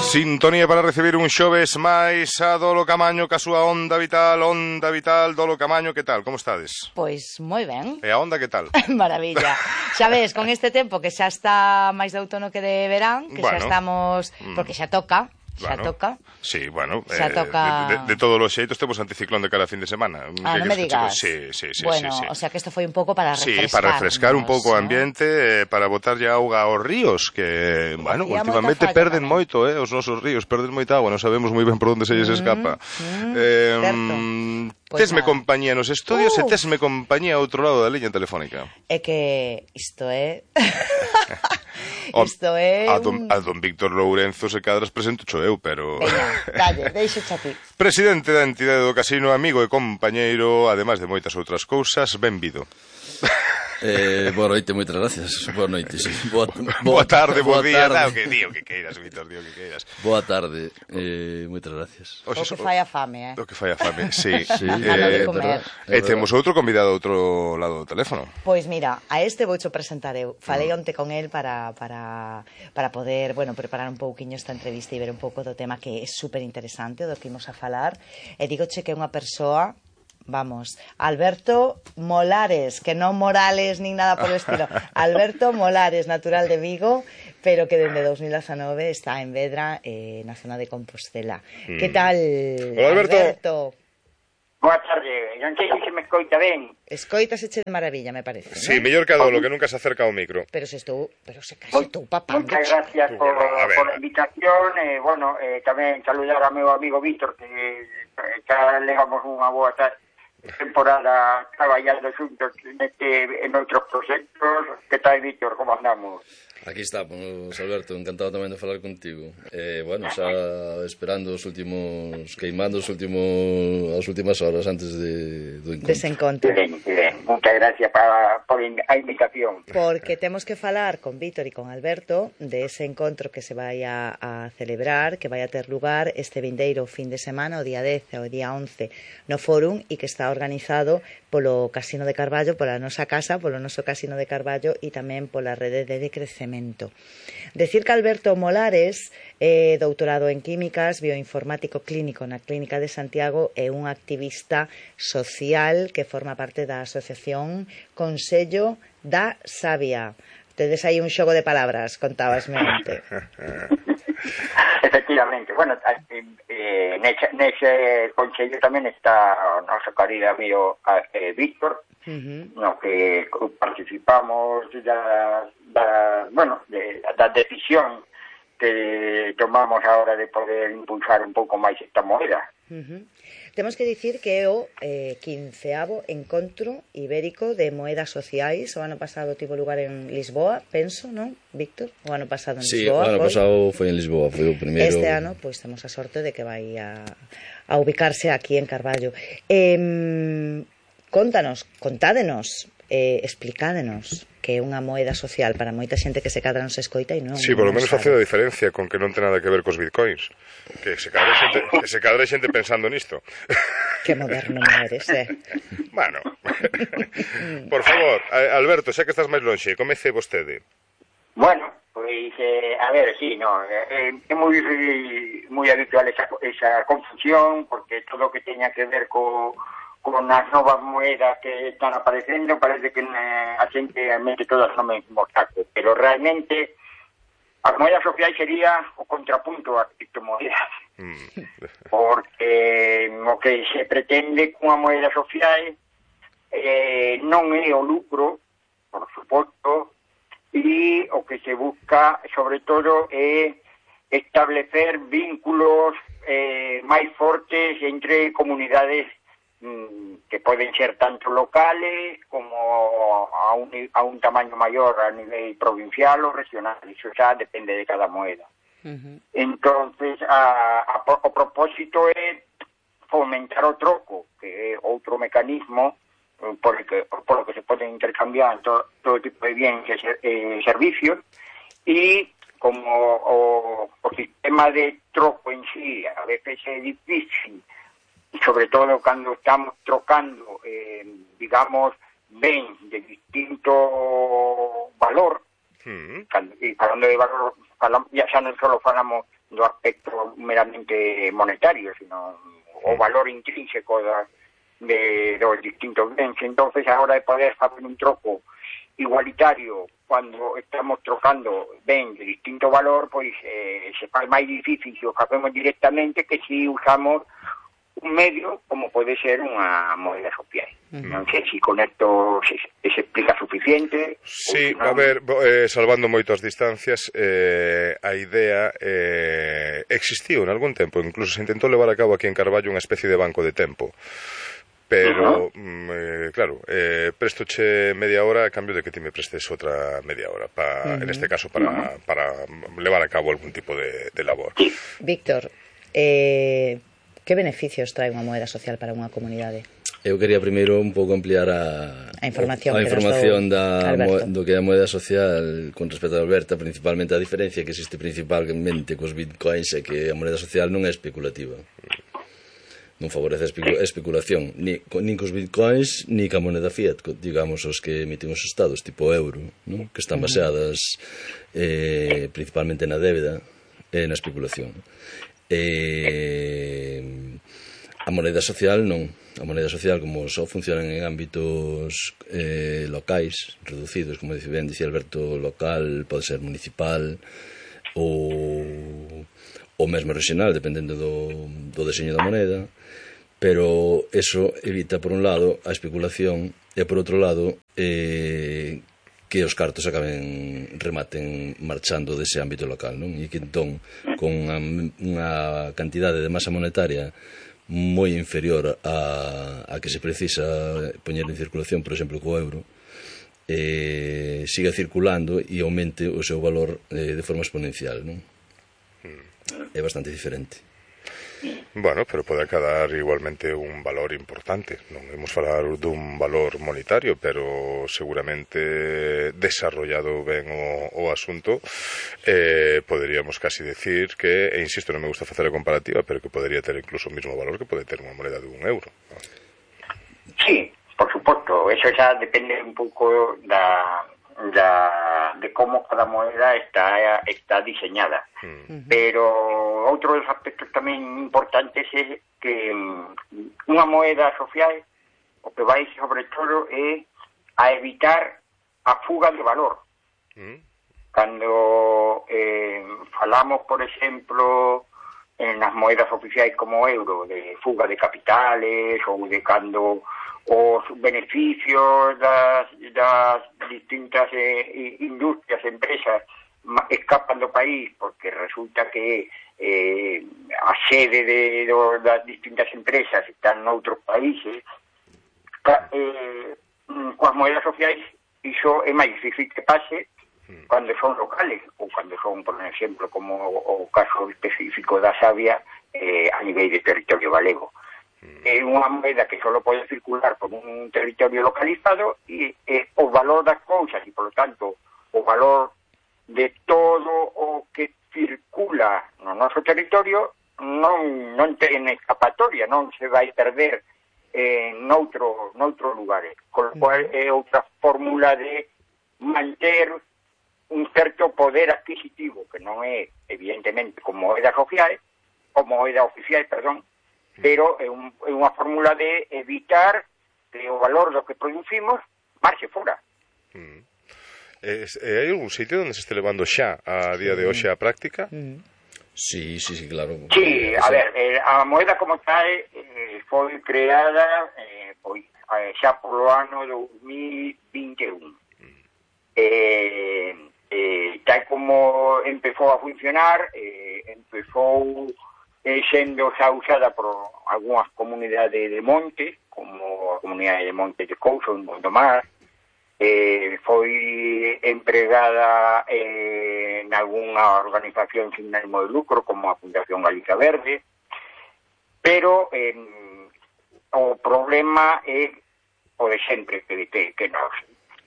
Sintonía para recibir un xoves máis a Dolo Camaño ca súa onda vital, Dolo Camaño, que tal? Como estades? Pois moi ben. E a onda que tal? Maravilla. Xa ves, con este tempo que xa está máis de outono que de verán, que xa estamos, porque xa toca. Xa toca. Sí, bueno, xa toca... de todos os xeitos temos anticiclón de cada fin de semana. Non me digas. Sí. Bueno, o sea que isto foi un pouco para refrescar. Sí, para refrescar un pouco o ambiente, para botarlle auga aos ríos, que, bueno, últimamente perden moito, os nosos ríos perden moita agua, non sabemos moi ben por onde se lles escapa. Tesme compañía nos estudios e tesme compañía ao outro lado da liña telefónica. É que isto é... Isto é... A don Víctor Lourenzo se cadras presento cho eu, pero... Veña, calle, deixo xa ti. Presidente da entidade do casino, amigo e compañeiro, ademais de moitas outras cousas, benvido. Boa noite, moitas gracias. Boa noite, sí. Boa tarde, boa día, o que queiras, Víctor, o que queiras. Boa tarde, moitas gracias. O que fai a fame, O que fai a fame, sí. De comer. E temos outro convidado ao outro lado do teléfono. Pois mira, a este voucho presentar eu. Falei onte con el para poder, bueno, preparar un pouquiño esta entrevista e ver un pouco do tema que é super interesante, do que imos a falar. E digoche que é unha persoa... Vamos, Alberto Molares, que non Morales nin nada por el estilo. Alberto Molares, natural de Vigo, pero que dende 2019 está en Vedra, na zona de Compostela. Que tal, Hola, Alberto? Boa tarde, non sei se me escoita ben. Escoitaseche de maravilla, me parece, ¿no? Sí, mellor que a Dolo, que nunca se acerca ao micro. Pero se case estou papando. Muchas gracias por la invitación. Bueno, tamén saludar a meu amigo Víctor, que xa levamos unha boa temporada traballando xuntos en outros proxectos. Que tal, Víctor? Como andamos? Aquí estamos, Alberto, encantado tamén de falar contigo. Bueno, xa esperando os últimos, queimando as últimas horas antes do encontro. Desencontro. Ben. Muchas gracias por a invitación. Porque temos que falar con Víctor e con Alberto de ese encontro que se vai a celebrar, que vai a ter lugar este vindeiro fin de semana, o día 10 e o día 11, no Fórum, e que está organizado polo Casino de Carballo, pola nosa casa, polo noso Casino de Carballo e tamén pola rede de decrecemento. Decir que Alberto Molares é doutorado en Químicas, bioinformático clínico na Clínica de Santiago, é un activista social que forma parte da asociación Consello da Sabia. Tedes aí un xogo de palabras, contábasme onte. Efectivamente, bueno, nese consello tamén está o noso querido amigo Víctor, no que participamos da decisión que tomamos ahora de poder impulsar un pouco máis esta moeda. Temos que dicir que é o 15º Encontro Ibérico de Moedas Sociais. O ano pasado tivo lugar en Lisboa, penso, non, Víctor? O ano pasado en Lisboa. Sí, o ano pasado foi en Lisboa, foi o primeiro. Este ano, pois, temos a sorte de que vai a ubicarse aquí en Carballo. Contádenos, explicádenos que é unha moeda social para moita xente que se cadra non se escoita e non... Sí, por lo menos facendo a diferencia con que non ten nada que ver cos bitcoins. Que se cadra xente pensando nisto. Que moderno me eres, Bueno, por favor, Alberto, xa que estás máis lonxe, comece vostede. Bueno, pois, a ver, sí, no, é moi habitual esa confusión, porque todo o que teña que ver con as novas moedas que están aparecendo, parece que a xente mete todas no mesmo saco, pero realmente as moedas sociais sería o contrapunto ás criptomoedas, porque o que se pretende cunha moeda social non é o lucro, por suposto, e o que se busca, sobre todo, é establecer vínculos máis fortes entre comunidades que poden ser tanto locales como a un tamaño mayor a nivel provincial ou regional. Iso xa depende de cada moeda. Entonces, o propósito é fomentar o troco, que é outro mecanismo por lo que se poden intercambiar todo tipo de bienes e servicios, e como o sistema de troco en sí a veces é difícil, sobre todo cando estamos trocando, digamos, bens de distinto valor, e falando de valor, ya xa non só falamos do aspecto meramente monetario, sino o valor intrínseco dos distintos bens. Entonces, a hora de poder facer un troco igualitario cuando estamos trocando ben de distinto valor, pois se faz máis difícil se o facemos directamente que si usamos un medio como pode ser unha moeda social. Non sei se con esto se explica suficiente. Sí, a ver, salvando moito as distancias, a idea existiu en algún tempo, incluso se intentou levar a cabo aquí en Carballo unha especie de banco de tempo. Pero, claro, prestoche media hora a cambio de que ti me prestes outra media hora, en este caso para levar a cabo algún tipo de labor. Víctor, que beneficios trae unha moeda social para unha comunidade? Eu quería primeiro un pouco ampliar a información do que é a moeda social con respecto a Alberta, principalmente a diferencia que existe principalmente cos bitcoins é que a moeda social non é especulativa. Non favorece a especulación nin cos bitcoins ni ca moneda fiat, digamos os que emiten os estados tipo euro, ¿no? Que están baseadas principalmente na débeda e na especulación. A moneda social non. A moneda social, como só funcionan en ámbitos locais, reducidos, como ben dicía Alberto, local, pode ser municipal ou mesmo regional, dependendo do deseño da moneda, pero eso evita, por un lado, a especulación e, por outro lado, que os cartos rematen marchando dese ámbito local, non? E que entón, con unha cantidade de masa monetaria moi inferior a que se precisa poñer en circulación, por exemplo, co euro, siga circulando e aumente o seu valor de forma exponencial, non? É bastante diferente. Bueno, pero pode acadar igualmente un valor importante. Non imos falar dun valor monetario, pero seguramente desarrollado ben o asunto, poderíamos casi decir que, e insisto, non me gusta facer a comparativa, pero que podería ter incluso o mismo valor que pode ter unha moneda de €1. Sí, por suposto, eso xa depende un pouco de como cada moeda está diseñada. Pero outro dos aspectos tamén importantes é que unha moeda social o que vai sobre todo é a evitar a fuga de valor. Cando falamos, por exemplo, en as moedas oficiais como o euro, de fuga de capitales ou de cando os beneficios das distintas industrias, empresas escapan do país porque resulta que a sede das distintas empresas están noutros países. Coas moedas sociais iso é máis difícil que pase cando son locales ou cando son, por exemplo, como o caso específico da savia a nivel de territorio galego. É unha moeda que só pode circular por un territorio localizado e o valor das cousas e, por lo tanto, o valor de todo o que circula no noso territorio non ten escapatoria, non se vai perder noutro lugar. Con lo cual é outra fórmula de manter un certo poder adquisitivo que non é, evidentemente, como moeda oficial, pero é unha fórmula de evitar que o valor do que producimos marche fora. Hai algún sitio onde se este levando xa a día de hoxe a práctica? Sí, claro. Sí, a ver, a moeda como tal foi creada xa polo ano 2021. Tal como empezou a funcionar, empezou sendo xa usada por algunhas comunidades de monte, como a comunidade de Monte de Couso, en Gondomar, foi empregada en algunha organización sin ánimo de lucro, como a Fundación Galicia Verde, pero o problema é o de sempre, que nos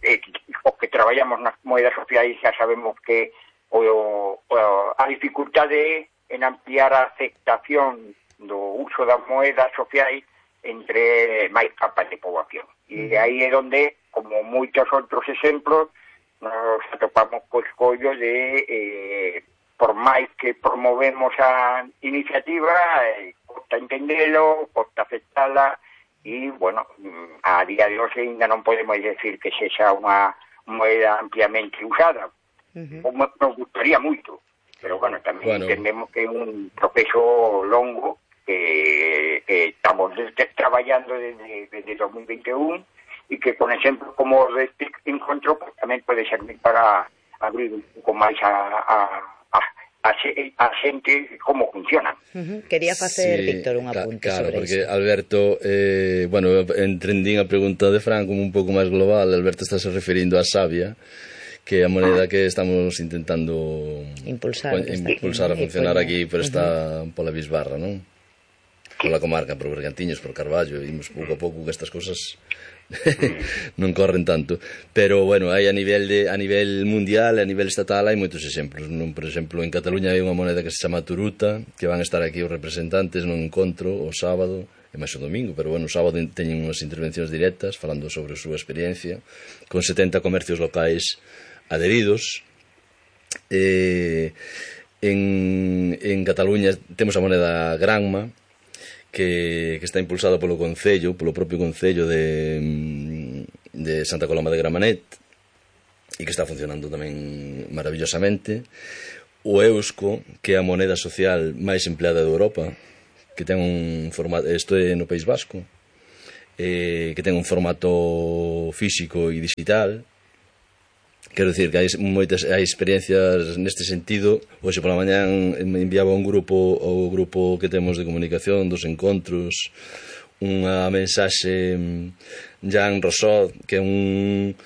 os que traballamos nas moedas sociais xa sabemos que a dificultade en ampliar a aceptación do uso das moedas sociais entre máis capas de poboación. E aí é onde, como moitos outros exemplos, nos atopamos co escollo de por máis que promovemos a iniciativa, costa entendelo, costa aceptala, e, bueno, a día de hoxe ainda non podemos decir que sexa unha moeda ampliamente usada. Nos gustaría moito, pero, bueno, tamén entendemos que é un proceso longo que estamos traballando desde 2021 e que con exemplos como este encontro pues, tamén pode servir para abrir un pouco máis a xente como funciona. Quería facer, Víctor, un apunte sobre porque iso. Alberto, bueno, entendín a pregunta de Fran como un pouco máis global. Alberto está se referindo a Sabia, que é a moneda que estamos intentando impulsar a funcionar aquí por esta pola Bisbarra, non? Pola comarca, por Bergantiños, por Carballo, imos pouco a pouco que estas cousas non corren tanto, pero bueno, hai a nivel mundial, a nivel estatal hai moitos exemplos, non? Por exemplo, en Cataluña hai unha moneda que se chama Turuta, que van a estar aquí os representantes nun encontro o sábado e máis o domingo, pero bueno, o sábado teñen unhas intervencións directas falando sobre a súa experiencia, con 70 comercios locais adheridos. En Cataluña temos a moneda Granma, que está impulsada polo propio Concello de Santa Coloma de Gramenet, e que está funcionando tamén maravillosamente. O Eusko, que é a moneda social máis empleada de Europa, que ten un formato, isto é no País Vasco, que ten un formato físico e digital. Quero dicir que hai experiencias neste sentido. Hoxe pola mañán me enviaba un grupo, o grupo que temos de comunicación dos encontros, unha mensaxe Jean Rousseau, que é un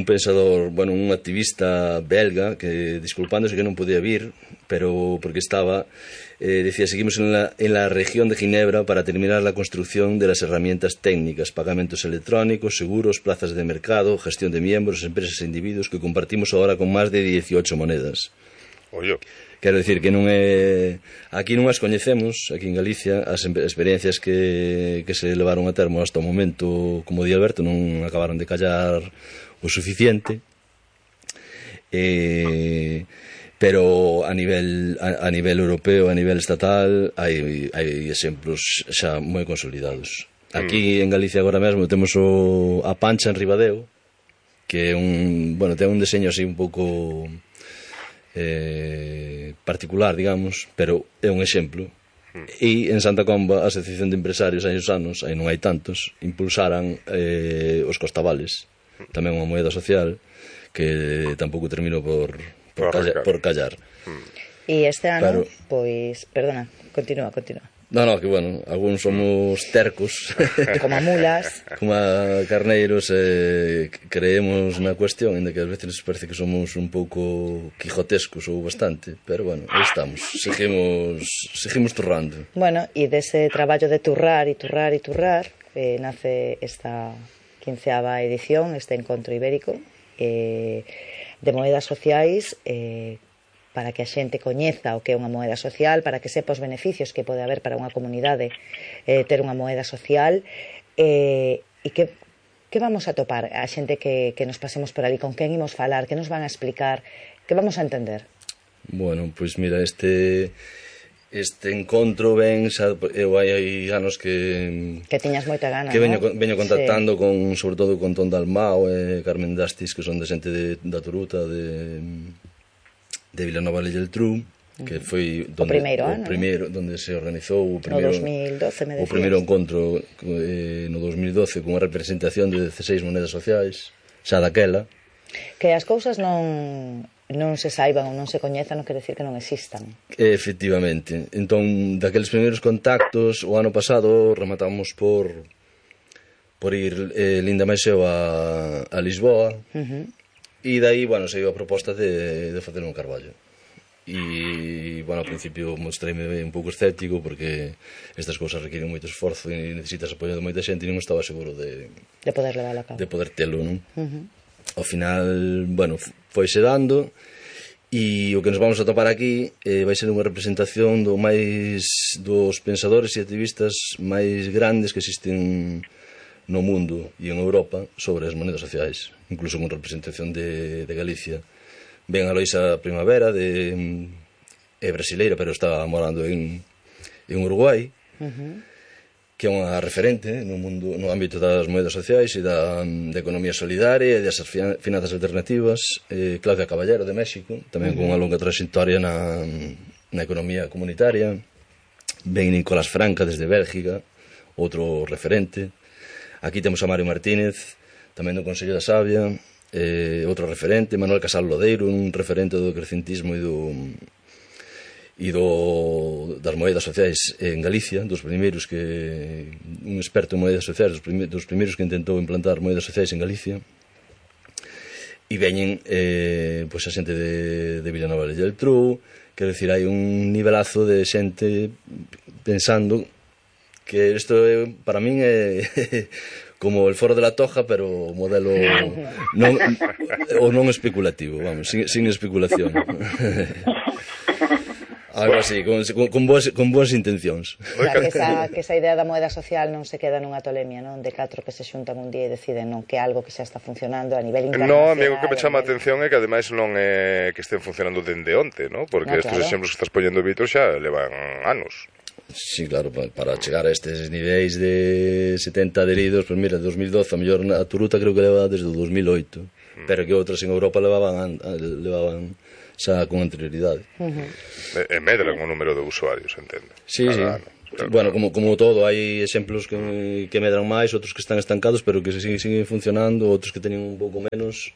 pensador, bueno, un activista belga, que disculpándose que non podía vir, pero porque estaba, decía, seguimos en la región de Ginebra para terminar la construcción de las herramientas técnicas, pagamentos electrónicos, seguros, plazas de mercado, gestión de miembros, empresas e individuos que compartimos ahora con más de 18 monedas. Oyo. Quero dicir que non é... Aquí non as coñecemos, aquí en Galicia, as experiencias que se levaron a termo hasta o momento, como di Alberto, non acabaron de callar o suficiente, pero a nivel europeo, a nivel estatal, hai exemplos xa moi consolidados. Aquí en Galicia agora mesmo temos a Pancha en Ribadeo, que é ten un deseño así un pouco particular, digamos, pero é un exemplo. E en Santa Comba a Asociación de Empresarios hai uns anos, aí non hai tantos, impulsaran os costabales, tamén unha moeda social que tampouco terminou por callar. E este ano, pois, perdona, continúa. No, que bueno, algúns somos tercos como mulas, como carneiros, creemos na cuestión, ainda que ás veces nos parece que somos un pouco quijotescos ou bastante, pero bueno, aí estamos, seguimos turrando. Bueno, e dese traballo de turrar nace esta 15ª edición, este encontro ibérico de moedas sociais, para que a xente coñeza o que é unha moeda social, para que sepa os beneficios que pode haber para unha comunidade ter unha moeda social, e que vamos a topar a xente que nos pasemos por ali, con quen imos falar, que nos van a explicar, que vamos a entender. Bueno, pois mira, este encontro ben, eu hai anos que tiñas moita gana, que veño contactando con, sobre todo con Ton Dalmao e Carmen Dastis, que son de xente da Turuta, de Vilanova de Geltrú, que foi o primeiro ano, onde se organizou o primeiro encontro no 2012, con unha representación de 16 monedas sociais, xa daquela. Que as cousas non se saiban ou non se coñezan non quere decir que non existan. Efectivamente. Entón, daqueles primeiros contactos, o ano pasado rematamos por ir Linda Maiseo a Lisboa, e dai, bueno, saiu a proposta de facer un Carballo. E, bueno, ao principio mostreime un pouco escéptico, porque estas cousas requiren moito esforzo e necesitas apoio de moita xente, e non estaba seguro de poder levar a cabo, de poder telo, non? Ao final, bueno, foise dando, e o que nos vamos a topar aquí vai ser unha representación dos pensadores e activistas máis grandes que existen no mundo e en Europa sobre as monedas sociais, incluso con representación de Galicia. Ven a Loisa Primavera de é brasileira, pero está morando en Uruguai, que é unha referente no ámbito das moedas sociais e da economía solidaria e das finanzas alternativas. Claudia Caballero, de México, tamén con unha longa trayectoria na economía comunitaria. Ben Nicolás Franca, desde Bélgica, outro referente. Aquí temos a Mario Martínez, tamén do Consello da Sabia, outro referente. Manuel Casal Lodeiro, un referente do crecentismo e das moedas sociais en Galicia, un experto en moedas sociais, dos primeiros que intentou implantar moedas sociais en Galicia. E veñen a xente de Vilanova de Geltrú. Quero dicir, hai un nivelazo de xente pensando que isto para min é como el Foro de la Toja, pero modelo non especulativo, vamos, sin especulación. Algo así, con boas intencións. Que esa idea da moeda social non se queda nunha tolemia, non? De 4 que se xuntan un día e deciden non que algo que xa está funcionando a nivel internacional. No, amigo, que me chama a atención é que ademais non é que estén funcionando dende onte, non? Porque estes exemplos que estás poñendo, Vítor, xa levan anos. Sí, claro, para chegar a estes niveis de 70 adheridos, pues mira, 2012, a mellor a Turuta creo que leva desde o 2008, pero que outras en Europa levaban xa con anterioridade. E medran o número de usuarios, entende? Sí, sí. Bueno, como todo, hai exemplos que medran máis, outros que están estancados, pero que siguen funcionando, outros que teñen un pouco menos,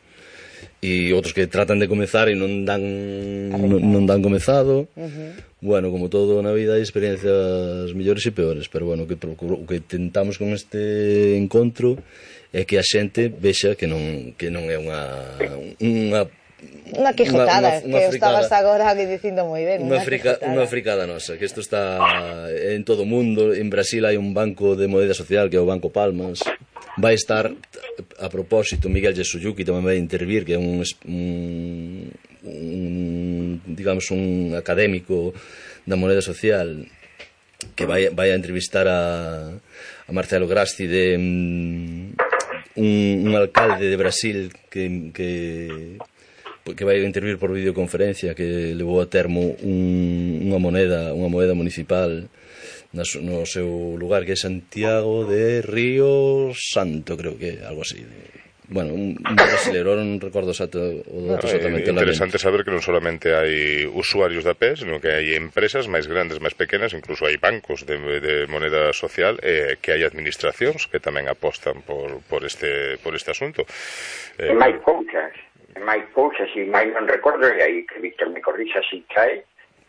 e outros que tratan de comezar e non dan comezado. Bueno, como todo na vida hai experiencias mellores e peores, pero bueno, o que tentamos con este encontro é que a xente vexa que non é unha quijotada, que estabas agora dicindo moi ben. Unha fricada nosa, que isto está en todo o mundo. En Brasil hai un banco de moneda social que é o Banco Palmas. Vai estar, a propósito, Miguel Yasuyuki tamén vai intervir, que é un académico da moneda social, que vai a entrevistar a Marcelo Grasti, un alcalde de Brasil que vai a intervir por videoconferencia, que levou a termo unha moneda municipal no seu lugar, que é Santiago de Río Santo, creo que é algo así. Bueno, un brasileiro, non recordo exactamente. Interesante saber que non solamente hai usuarios da PE, sino que hai empresas máis grandes, máis pequenas, incluso hai bancos de moneda social, que hai administracións que tamén apostan por este asunto. Máis cousas, e máis non recordo, e aí que Víctor me corrixa si cae,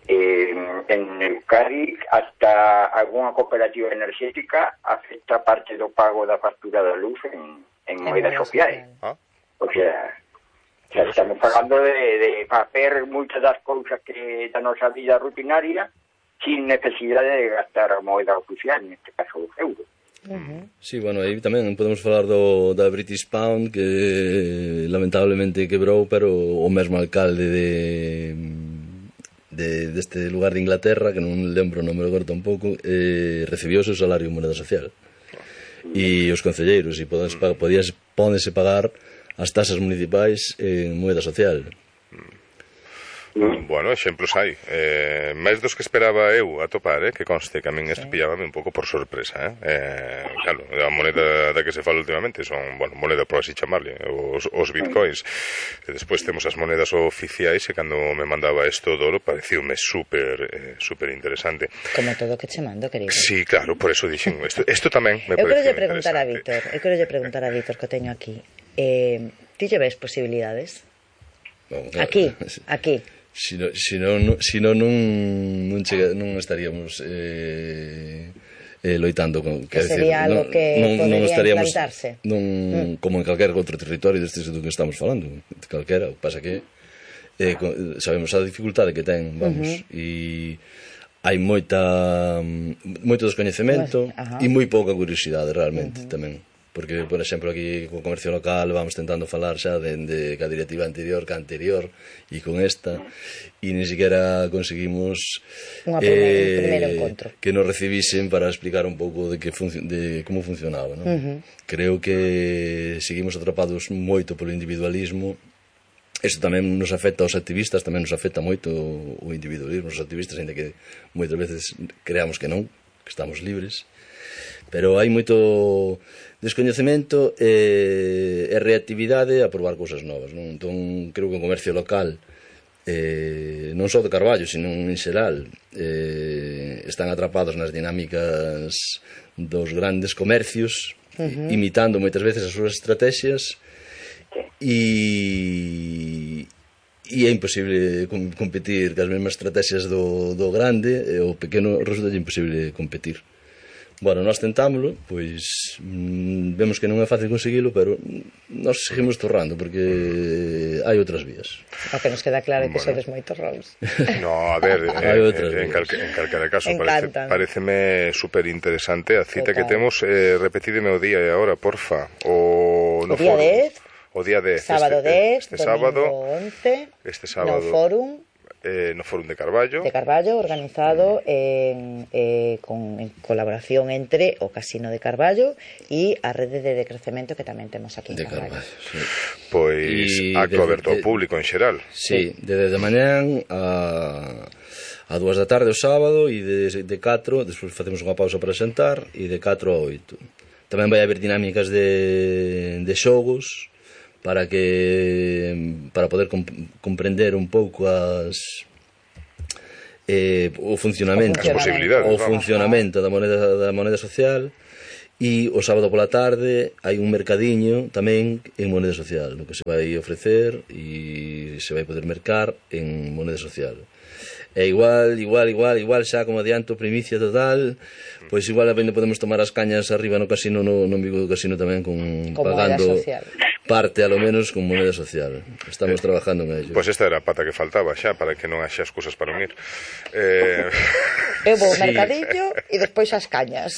en Euskadi hasta algunha cooperativa enerxética afecta parte do pago da factura da luz en moeda social. O sea, estamos falando de facer moitas das cousas que da nosa vida rutinaria sin necesidade de gastar a moeda oficial, neste caso o euro. Sí, bueno, aí tamén podemos falar da British Pound, que lamentablemente quebrou, pero o mesmo alcalde deste lugar de Inglaterra, que non lembro, non me lo corto un pouco, recibiu o seu salario en moneda social. E os concelleiros, pódense pagar as tasas municipais en moeda social. Bueno, exemplos hai. Máis dos que esperaba eu atopar, que conste que a min isto pillábame un pouco por sorpresa. Claro, a moneda da que se fala últimamente son, moneda por así chamarle, os bitcoins. E despois temos as monedas oficiais, e cando me mandaba isto do oro pareciume super interesante. Como todo que che mando, querido. Sí, claro, por eso dixen, isto tamén me Eu pareceu quero lle preguntar a Víctor, que o teño aquí. Ti lle ves posibilidades? Aquí. Si non estaríamos loitando con, que sería algo que podería implantarse como en calquera outro territorio deste do que estamos falando, calquera. Pasa que sabemos a dificultade que ten, e hai moito descoñecemento e moi pouca curiosidade realmente tamén. Porque, por exemplo, aquí co comercio local vamos tentando falar xa de ca directiva anterior, e con esta, e ni siquiera conseguimos primeiro encontro que nos recibisen para explicar un pouco de como funcionaba, non? Creo que seguimos atrapados moito polo individualismo Iso tamén nos afecta aos activistas, tamén nos afecta moito o individualismo, os activistas, ainda que moitas veces creamos que non, que estamos libres, pero hai moito descoñecemento e reactividade a probar cousas novas, non? Entón, creo que o comercio local, non só de Carballo, sino en xeral, están atrapados nas dinámicas dos grandes comercios, imitando moitas veces as súas estrategias, e é imposible competir cas mesmas estrategias do grande, e o pequeno resulta imposible competir. Bueno, nós tentámoslo, pois vemos que non é fácil conseguilo, pero nós seguimos torrando, porque hai outras vías. O que nos queda claro é que sodes moitos roles. No, a ver, en calquera caso, pareceme super interesante a cita que temos. Repetideme o día e a hora, porfa. O día 10. O día 10, sábado 10, domingo 11, no Fórum de Carballo. De Carballo, organizado en colaboración entre o Casino de Carballo e a rede de decrecemento que tamén temos aquí en Carballo. Sí. Pois acto aberto ao público en xeral. Sí, desde mañán a 2 da tarde o sábado, e de 4, despois facemos unha pausa para sentar, e de 4 a 8. Tamén vai haber dinámicas de xogos, para poder comprender un pouco o funcionamento da moneda social. E o sábado pola tarde hai un mercadiño tamén en moneda social, no que se vai ofrecer e se vai poder mercar en moneda social. E igual, xa como adianto, primicia total, pois igual podemos tomar as cañas arriba no casino, no Vigo do Casino tamén, pagando parte, alo menos, con moneda social. Estamos trabajando en ello. Pois esta era a pata que faltaba xa, para que non haxa excusas para unir. Eu vou ao mercadillo e despois as cañas.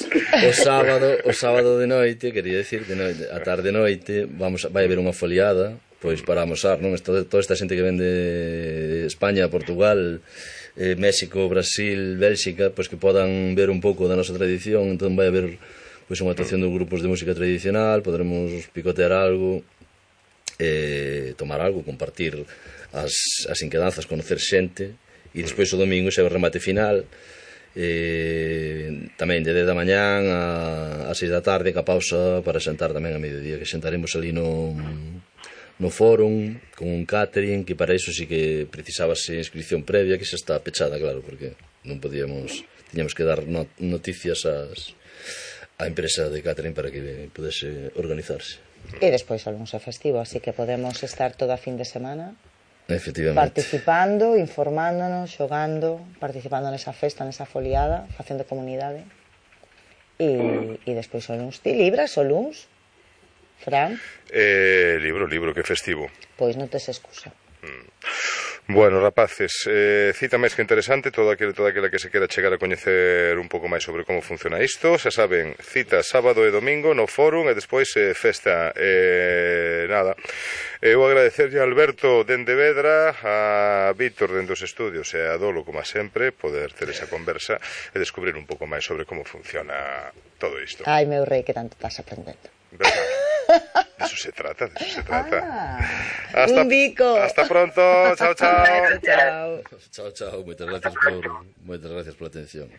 O sábado de noite, quería decir, a tarde e noite, vai haber unha foliada, pois para amosar, non? Toda esta xente que ven de España, Portugal, México, Brasil, Bélxica, pois que podan ver un pouco da nosa tradición. Entón vai haber pois unha actuación dos grupos de música tradicional, poderemos picotear algo, tomar algo, compartir as inquedanzas, conocer xente, e despois o domingo xa o remate final, tamén de 10 da mañán a 6 da tarde, ca pausa para sentar tamén a mediodía, que sentaremos ali no fórum con un catering, que para iso sí que precisábase inscripción previa, que xa está pechada, claro, porque non tiñamos que dar noticias á empresa de catering para que pudese organizarse. E despois o luns é festivo, así que podemos estar toda a fin de semana participando, informándonos, xogando, participando nesa festa, nesa foliada, facendo comunidade. E despois o luns. Ti libras o luns, Fran? Libro, que festivo. Pois non tes excusa. Bueno, rapaces, cita máis que interesante, toda aquela que se quera chegar a coñecer un pouco máis sobre como funciona isto. Xa saben, cita sábado e domingo no Fórum, e despois festa. Nada, eu agradecerlle a Alberto dende Vedra, a Víctor dende os estudios e a Dolo, como sempre, poder ter esa conversa e descubrir un pouco máis sobre como funciona todo isto. Ai, meu rei, que tanto estás aprendendo. ¿Verdad? De eso se trata. Un bico. Hasta pronto. Chao. Chao. Muchas gracias por la atención.